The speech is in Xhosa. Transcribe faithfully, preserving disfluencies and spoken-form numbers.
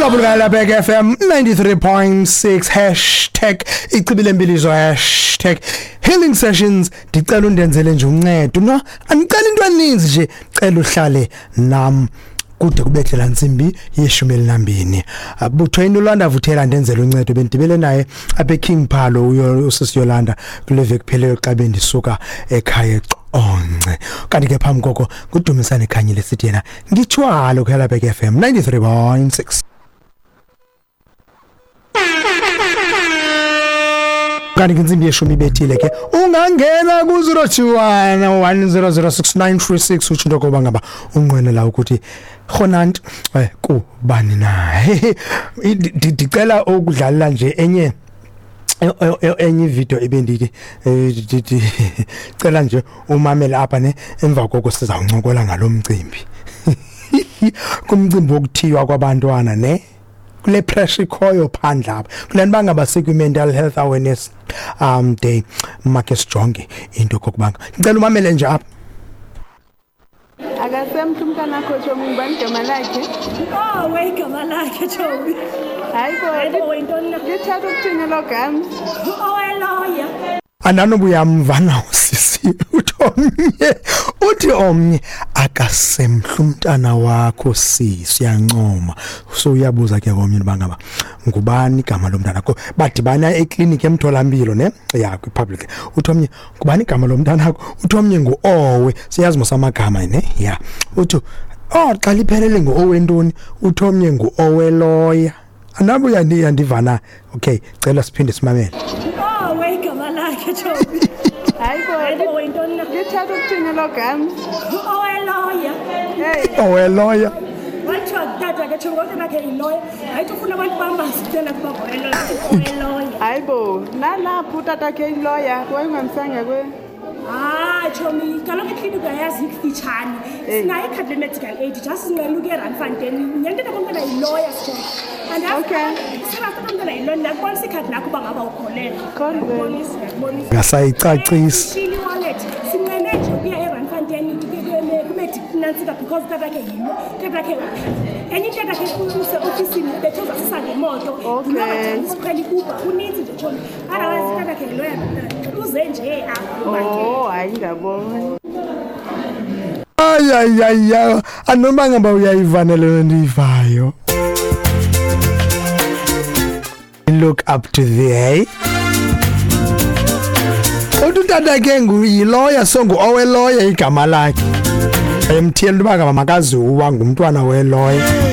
Ulapha F M ninety-three point six hashtag ichibile mbilizo hashtag healing sessions. Ndicela undenzele nje uncedo no, andicela into eninzi nje, cela uhlale nam kude kubethe la ntsimbi yeshumi elinambini. Butho Yolanda Vuthela ndenzele uncedo, bendibele naye apha eKing Phalo usisi Yolanda kule veki pheleyo xa bendisuka ekhaya eConce. Kanti ke phambi koko nguDumisane Khanyile sithi yena ngithwalo kuHelabek F M ninety-three point six. Kanti intsimbi yeshumi ibethile ke, ungangena ku zero two one one zero zero six nine three six utsho into yokoba ngaba unqwenela ukuthi khonant kubani na. Ndicela ukudlalela nje enye enye video ebendithi cela nje umamele apha ne, emva koko sizawuncokola ngalomcimbi kumcimbi wokuthiywa kwabantwana ne, kule pressure ikhoyo phandle apha kule nto bangaba sikwi-mental health awareness um day. Make sijonge into kokubanga, ndicela umamele nje apha. Akasemhle umntana akho Tshomi, ngubani igama lakhe? Oh, igama lakhe Tshomi. Hayi bo, lithatha ukuthini elo gama? Oweloya. Andanobuya mva usisi uthi omnye, uthi omnye akasemhle umntana wakho sisi, uyancoma. So uyabuza ke komnye uba ngaba ngubani igama lomntana akho. Badibana ekliniki emtholampilo ne, ya kwi-public. Uthi omnye ngubani igama lomntana akho? Uthi omnye ngu-Owe, siyazi mos amagama ne, ya. Uthi oh xa liphelele ngu-Owe ntoni? Uthi omnye ngu-Owe loya. Andabuya ndivana. Okay, cela siphinde simamele. Oh, igama lakhe Tshomi. Hayi bo, lithatha ukuthini elo gama? Oweloya. Oweloya. Wathiwa tata ke Tshomi ngoba bakhe yiloya. Hayi ufuna abantu bambazi kuphela kuba ngoweloya. Oweloya. Hayi bo, nalapho utata ke yiloya, wayengamsanga kwe. Ah, Tshomi, kaloku ikliniki uyayazi ikufitshane. Sinayo ikhadi le-medical aid, just sinqena ukuya eRandfontein. Nyhani tata komntana yiloya Tshomi. Okay. Seba yiloya, ndiyakubonisa ikhadi lakho uba ngaba ukholelwa. Ndiyakubonisa, ndiyakubonisa. Ngasayicacisi. Ishili wallet. Sinqene nje ukuya eRandfontein kuMedic because tata ke yilo. Tata ke enye into yakhe use-ofisini bethe uzasisa ngemoto. Okay. Sikhwela i-Uber, kuninzi nje Tshomi. Otherwise tata ke yiloya uze nje apha. Oh, hayi ndiyabona. Ay ay ay ay, anoma ngaba uyayivanele le ndiyivayo. Look up to the hey. Uthi tata ke nguyiloya, so ngu-Oweloya igama lakhe. Emthiyela uba ngaba makaziwa ngumntwana weloya.